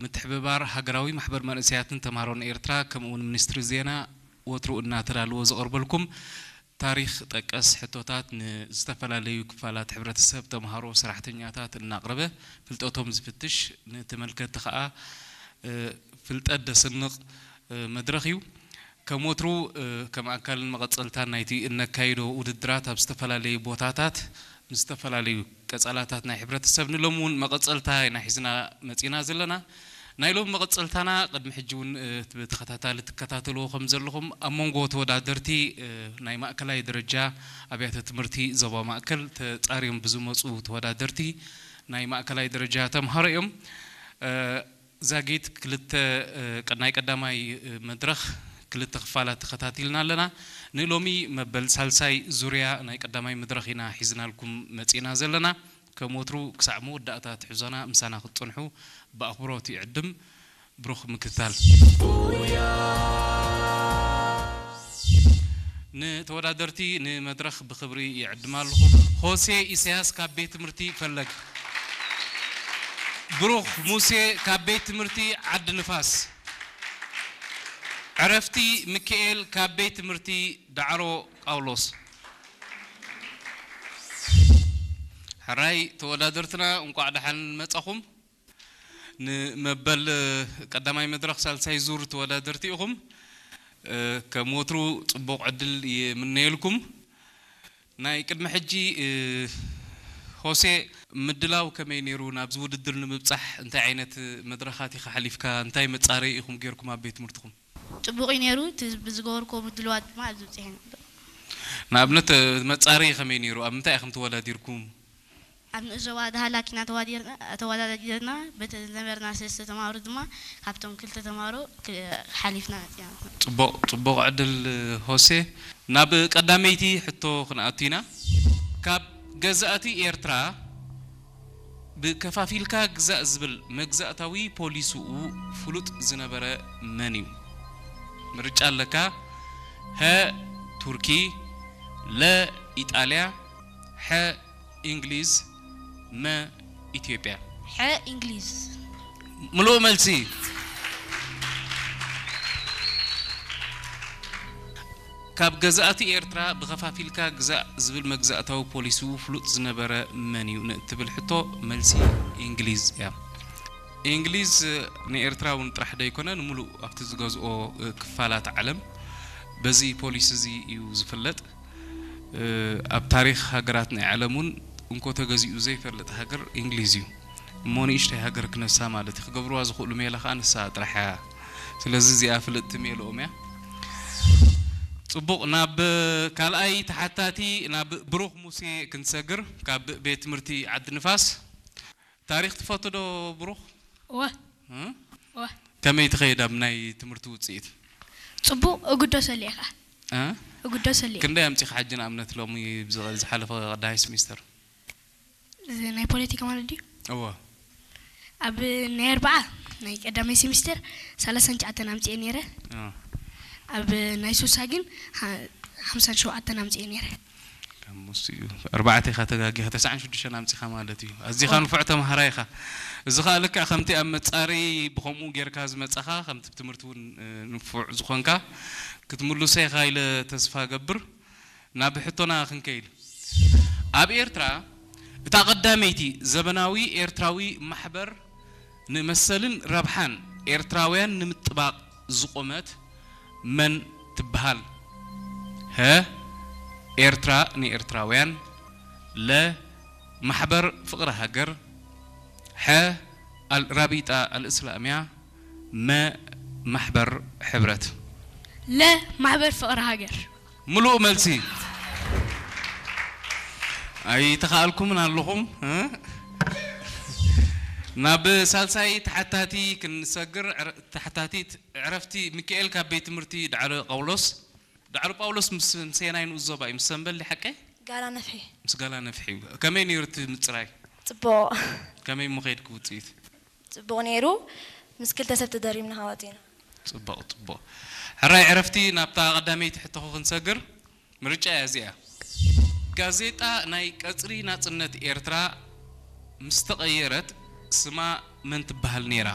ምትሕብባር ሃገራዊ ማሕበር መንእሰያትን ተምሃሮን ኤርትራ፣ ከምኡውን ሚኒስትሪ ዜና ወትሩ እናተዳለወ ዘቕርበልኩም ታሪኽ ጠቀስ ሕቶታት ንዝተፈላለዩ ክፋላት ሕብረተሰብ፣ ተምሃሮ፣ ሰራሕተኛታት እናቕረበ ፍልጠቶም ዝፍትሽ፣ ንተመልከትቲ ኸኣ፣ እ፣ ፍልጠት ደስንቕ፣ እ፣ መድረኽ እዩ። ከም ወትሩ፣ እ፣ ከም ኣካልን መቐጸልታን ናይቲ እነካይዶ ውድድራት ኣብ ዝተፈላለዩ ቦታታት ምስ ዝተፈላለዩ ቀጸላታት ናይ ሕብረተሰብ ንሎሚ እውን መቐጸልታ ኢና ሒዝና መጺና ዘለና። ናይ ሎሚ መቐጸልታና ቅድሚ ሕጂ እውን፣ እ፣ ብተኸታታሊ ትከታተልዎ ከም ዘለኹም ኣብ መንጎ ተወዳደርቲ፣ እ፣ ናይ ማእከላይ ደረጃ ኣብያተ ትምህርቲ ዞባ ማእከል ተጻርዮም ብዝመጹ ተወዳደርቲ ናይ ማእከላይ ደረጃ ተምሃሮ እዮም። እ፣ ዛጊት ክልተ፣ እ፣ ቀ-፣ ናይ ቀዳማይ፣ እ፣ መድረኽ ክልተ ክፋላት ተኸታቲልና ኣለና። ንሎሚ መበል ሳልሳይ ዙርያ ናይ ቀዳማይ መድረኽ ኢና ሒዝናልኩም መጺእና ዘለና። ከም ወትሩ ክሳዕ መወዳእታ ትሕዞና ምሳና ክትጸንሑ ብኣኽብሮት ይዕድም። ብሩኽ ምክትታል። ንተወዳደርቲ ንመድረኽ ብኽብሪ ይዕድም ኣለኹ። ሆሴ ኢሳያስ ካብ ቤት ትምህርቲ ፈለግ፣ ብሩኽ ሙሴ ካብ ቤት ትምህርቲ ዓዲ ንፋስ፣ ዕረፍቲ ሚካኤል ካብ ቤት ትምህርቲ ዳዕሮ ጳውሎስ። ሕራይ ተወዳደርትና፣ እንቋዕ ደሓን መጻኹም። ንመበል ቀዳማይ መድረኽ ሳልሳይ ዙር ተወዳደርቲ ኢኹም። እ፣ ከም ወትሩ ጽቡቕ ዕድል ይምነየልኩም። ናይ ቅድሚ ሕጂ፣ እ፣ ሆሴ፣ ምድላው ከመይ ነይሩ? ናብዚ ውድድር ንምብጻሕ እንታይ ዓይነት መድረኻት ኢኻ ሓሊፍካ? እንታይ መጻረዪ ኢኹም ጌርኩም ኣብ ቤት ትምህርትኹም? ጽቡቕ እዩ ነይሩ። እቲ ብዝገበርክዎ ምድልዋት ድማ ኣብዚ በጺሐ ነበር። ንኣብነት፣ እ፣ መጻረዪ ከመይ ነይሩ? ኣብ ምንታይ ኢኹም ተወዳዲርኩም? ኣብ ንኡስ ዞባ ዳህላክ ኢና ተዋዲርና-፣ ተወዳዲርና። በቲ ዝነበርና ሰለስተ ተምሃሮ ድማ ካብቶም ክልተ ተምሃሮ ክ-፣ ሓሊፍና መጺና። ጽቡቕ፣ ጽቡቕ ዕድል ሆሴ። ናብ ቀዳመይቲ ሕቶ ክንኣቱ ኢና። ካብ ገዛእቲ ኤርትራ ብከፋፊልካ ግዛእ ዝብል መግዛእታዊ ፖሊስኡ ፍሉጥ ዝነበረ መን እዩ? ምርጫ ኣለካ። ሀ ቱርኪ፣ ለ ኢጣልያ፣ ሐ እንግሊዝ፣ መ ኢትዮጵያ። ሐ እንግሊዝ። ምሉእ መልሲ። ካብ ገዛእቲ ኤርትራ ብኸፋፊልካ ግዛእ ዝብል መግዛእታዊ ፖሊሲኡ ፍሉጥ ዝነበረ መን እዩ ንእትብል ሕቶ፣ መልሲ እንግሊዝ እያ። እንግሊዝ ንኤርትራ እውን ጥራሕ ደይኮነ፣ ንምሉእ ኣብቲ ዝገዝኦ ክፋላት ዓለም በዚ ፖሊሲ እዚ እዩ ዝፍለጥ። እ፣ ኣብ ታሪኽ ሃገራት ናይ ዓለም እውን እንኮ ተገዚኡ ዘይፈልጥ ሃገር እንግሊዝ እዩ። እሞ ንእሽተይ ሃገር ክነሳ ማለት እዩ። ክገብርዋ ዝኽእሉ ሜላ ከኣ ንሳ ጥራሕ እያ። ስለዚ እዚኣ ፍልጥቲ ሜልኦም እያ። ጽቡቕ፣ ናብ ካልኣይ ተሓታቲ፣ ናብ ብሩኽ ሙሴ ክንሰግር፣ ካብ ቤት ትምህርቲ ዓዲ ንፋስ። ታሪኽ ትፈቱ ዶ ብሩኽ? እወ። እ? እወ። ከመይ ትኸይድ ኣብ ናይ ትምህርቲ ውጽኢት? ጽቡቕ፣ እግደሰሉ እየ ኸኣ። እ? እግደሰሉ እየ። ክንደይ ኣምጺኻ ሕጂ ንኣብነት ሎሚ ብዝ-፣ ዝሓለፈ ቀዳማይ ስሚስተር? እዚ ናይ ፖለቲካ ማለት ድዩ? እወ። ኣብ ናይ ኣርብዓ ናይ ቀዳማይ ሴሚስተር ሰላሳን ትሽዓተን ኣምጺኤ ነይረ። እ። ኣብ ናይ ሱሳ ግን ሓ-፣ ሓምሳን ሸውዓተን ኣምጺኤ ነይረ። ካብ ምስኡ ኣርባዕተ ኢኻ ተጋጊኻ፣ ተስዓን ሽዱሽተን ኣምጺኻ ማለት እዩ። ኣዝኻ ኦ። ንፉዕ ተምሃራይ ኢኻ። እዚ ኸኣ ልክዕ ከምቲ ኣብ መጻረዪ ብኸምኡ ጌርካ ዝመጻኻ፣ ከምቲ ብትምህርቲ እውን፣ እ፣ ንፉዕ ዝኾንካ ክትምልሶ ኢኻ ኢለ ተስፋ እገብር። ናብ ሕቶና ክንከይድ። ኣብ ኤርትራ እታ ቀዳመይቲ ዘበናዊ ኤርትራዊ ማሕበር ንመሰልን ረብሓን ኤርትራውያን ንምጥባቕ ዝቖመት መን ትበሃል? ሀ፣ ኤርትራ ንኤርትራውያን፣ ለ፣ ማሕበር ፍቕሪ ሃገር፣ ሐ፣ ኣል-፣ ራቢጣ ኣልእስላምያ፣ መ፣ ማሕበር ሕብረት። ለ፣ ማሕበር ፍቕሪ ሃገር። ምሉእ መልሲ። ኣይተኻእልኩምን ኣለኹም፣ እ? ናብ ሳልሳይ ተሓታቲ ክንሰግር፣ ዕረ-፣ ተሓታቲት ዕረፍቲ ሚካኤል ካብ ቤት ትምህርቲ ዳዕሮ ጳውሎስ። ዳዕሮ ጳውሎስ ምስ፣ ምስ የናይ ንኡስ ዞባ እዩ? ምስ ሰምበል ድዩ ሓቀይ? ጋላ ነፍሒ። ምስ ጋላ ነፍሒ እዩ። ከመይ ነይሩ እቲ ምጽራይ? ጽቡቕ። ከመይ እሞ ከይድኪ ውጽኢት? ጽቡቕ ነይሩ። ምስ ክልተ ሰብ ተደሪብና ኸዓ ወጺእና። ጽቡቕ፣ ጽቡቕ። ሕራይ ዕረፍቲ፣ ናብታ ቀዳመይቲ ሕቶኹ ክንሰግር። ምርጫ እያ እዚኣ። ጋዜጣ ናይ ቀጽሪ ናጽነት ኤርትራ ምስ ተቐየረት ስማ መን ትበሃል ነይራ?